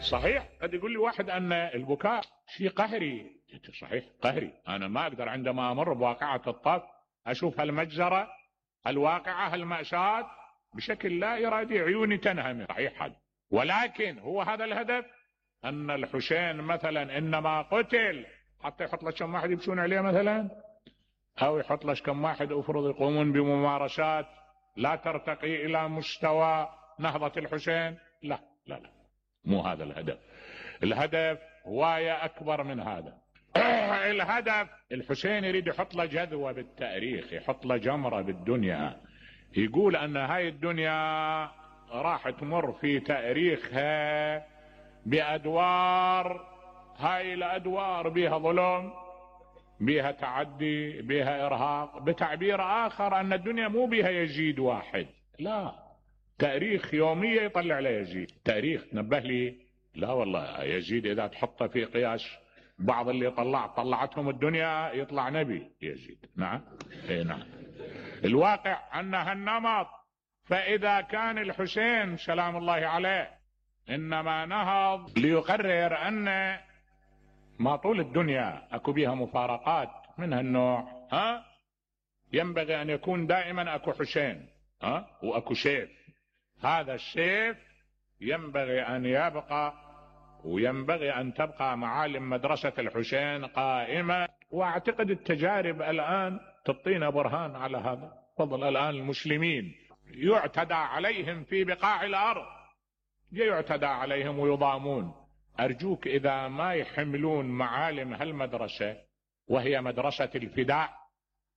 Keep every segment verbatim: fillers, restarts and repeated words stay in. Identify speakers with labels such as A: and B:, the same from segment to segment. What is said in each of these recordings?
A: صحيح. قد يقول لي واحد ان البكاء شيء قهري. صحيح قهري. انا ما اقدر عندما امر بواقعة الطف اشوف هالمجزرة الواقعة هالمأساة بشكل لا ارادي عيوني تنهمر. صحيح هذا. ولكن هو هذا الهدف ان الحسين مثلا انما قتل حتى يحط لك كم واحد يمشون عليه مثلا، او يحط لك كم واحد افرض يقومون بممارسات لا ترتقي الى مستوى نهضة الحسين. لا لا لا، مو هذا الهدف. الهدف هواية اكبر من هذا. الهدف الحسين يريد يحط له جذوة بالتاريخ، يحط له جمرة بالدنيا، يقول ان هاي الدنيا راح تمر في تاريخها بادوار، هاي الادوار بها ظلم، بها تعدي، بها ارهاق. بتعبير اخر ان الدنيا مو بها يزيد واحد، لا، تاريخ يومية يطلع عليه يزيد. تاريخ نبه لي، لا والله يزيد اذا تحطه في قياس بعض اللي طلع طلعتهم الدنيا يطلع نبي يزيد. نعم اي نعم. الواقع ان هالنمط. فاذا كان الحسين سلام الله عليه انما نهض ليقرر ان ما طول الدنيا اكو بها مفارقات من هالنوع، ها، ينبغي ان يكون دائما اكو حسين، ها، واكو سيف. هذا السيف ينبغي ان يبقى، وينبغي ان تبقى معالم مدرسة الحسين قائمة. واعتقد التجارب الان تعطينا برهان على هذا. تفضل. الان المسلمين يعتدى عليهم في بقاع الارض، يعتدى عليهم ويضامون. ارجوك اذا ما يحملون معالم هالمدرسة وهي مدرسة الفداء،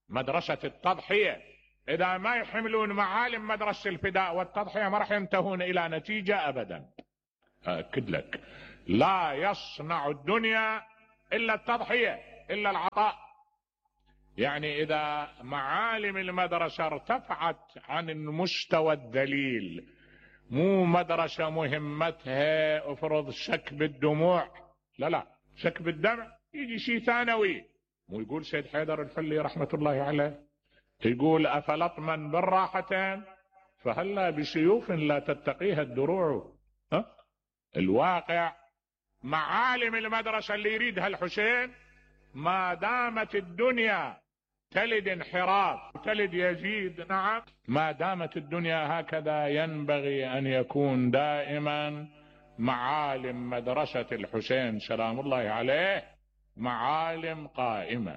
A: مدرسة التضحية، اذا ما يحملون معالم مدرسة الفداء والتضحية ما راح ينتهون الى نتيجة ابدا. اكد لك، لا يصنع الدنيا الا التضحية، الا العطاء. يعني اذا معالم المدرسة ارتفعت عن المستوى الذليل، مو مدرسة مهمتها افرض سكب الدموع، لا لا، سكب الدمع يجي شيء ثانوي. مو يقول سيد حيدر الحلي رحمة الله عليه، يقول افلطما بالراحتين فهلا بسيوف لا تتقيها الدروع. ها؟ الواقع معالم المدرسة اللي يريدها الحسين ما دامت الدنيا تلد انحراف تلد يزيد، نعم، ما دامت الدنيا هكذا ينبغي ان يكون دائما معالم مدرسة الحسين سلام الله عليه معالم قائمة.